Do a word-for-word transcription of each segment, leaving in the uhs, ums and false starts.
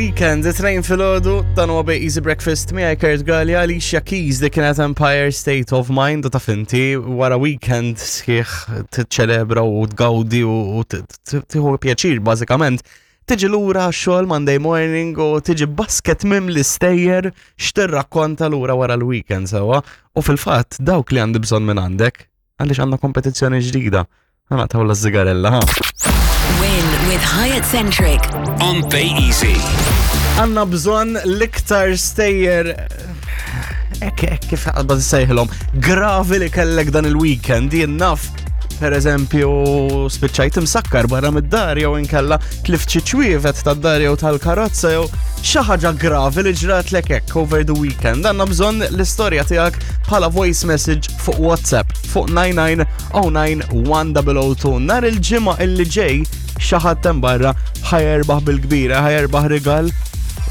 Weekend, it-tnejn filgħodu, dan huwa Bay Easy Breakfast miegħi Kurt Gallia, Alicia Keys, li kienet Empire State of Mind, u taf inti wara weekend sħiħ tiċċelebra u tgawdi u tieħu pjaċir bażikament. Tiġi lura xogħol Monday morning u tiġi basket mimli stejjer x'tirrakkonta lura wara l-weekend sewwa. U fil-fatt dawk li għandi bżonn minn għandek, għaliex għandna kompetizzjoni ġdida. Ħa naqtgħu l-żigarella, ha. Win with Hyatt Centric. On Bay Easy. Għandna bżonn l-iktar stejjer ek, ek, kif għalba sejħilhom, gravi li kellek dan il-weekend, jien naf, per eżempju, spiċċajt imsakkar barra mid-dar jew inkella tlift xi ċwievet tad-dar jew tal-karozza jew xi ħaġa gravi li ġratlek hekk over the weekend. Għandna bżonn l-istorja tiegħek bħala voice message fuq WhatsApp fuq nine nine zero nine one zero zero two. Nhar il-Ġimgħa illi ġej xi ħadd hemm barra ħa jerbaħ bil-kbira, ħa jerbaħ rigal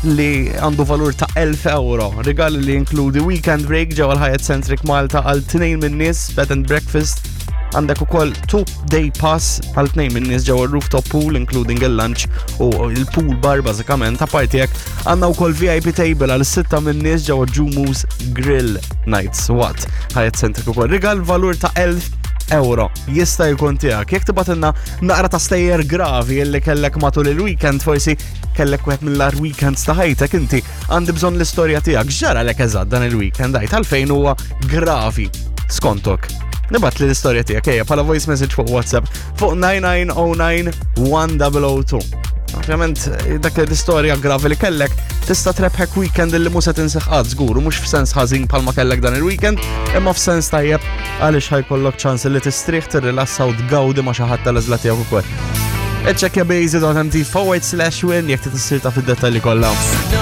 li għandu valur ta' elf euro. Rigal li jinkludi weekend break ġewwa l-Hyatt Centric Malta għal tnejn minn nies, bed and breakfast. Għandek ukoll two day pass għal tnejn minn nies ġewwa rooftop pool including il-lunch u il-pool bar bażikament. Apparti hekk għandna wkoll V I P table għal sitta minn nies ġewwa Jumu's Grill Nights waqt Hyatt Centric ukoll. Rigal valur ta' elf euro jista' jkun tiegħek. Jekk tibgħatilna naqra ta' stejjer gravi illi kellek matul il-weekend, forsi kellek wieħed mill-agħar weekends ta' ħajtek inti, għandi bżonn l-istorja tiegħek. X'ġaralek eżatt dan il-weekend, għid għalfejn huwa gravi skontok. Ibgħatli l-istorja tiegħek ejja bħala voice message fuq WhatsApp fuq nine nine zero nine one zero zero two. Ovvjament, dak l-istorja gravi li kellek tista' trebħek weekend li mhux se tinsih qatt żgur, u mhux f'sens ħażin bħalma kellek dan il-weekend, imma f'sens tajjeb għaliex ħa jkollok ċans li tistrieħ, tirrilassa u tgawdi ma' xi ħadd tal-għażla tiegħek ukoll. Iċċekkja baysy dot M T forward slash win jekk trid issir taf id-dettalji kollha.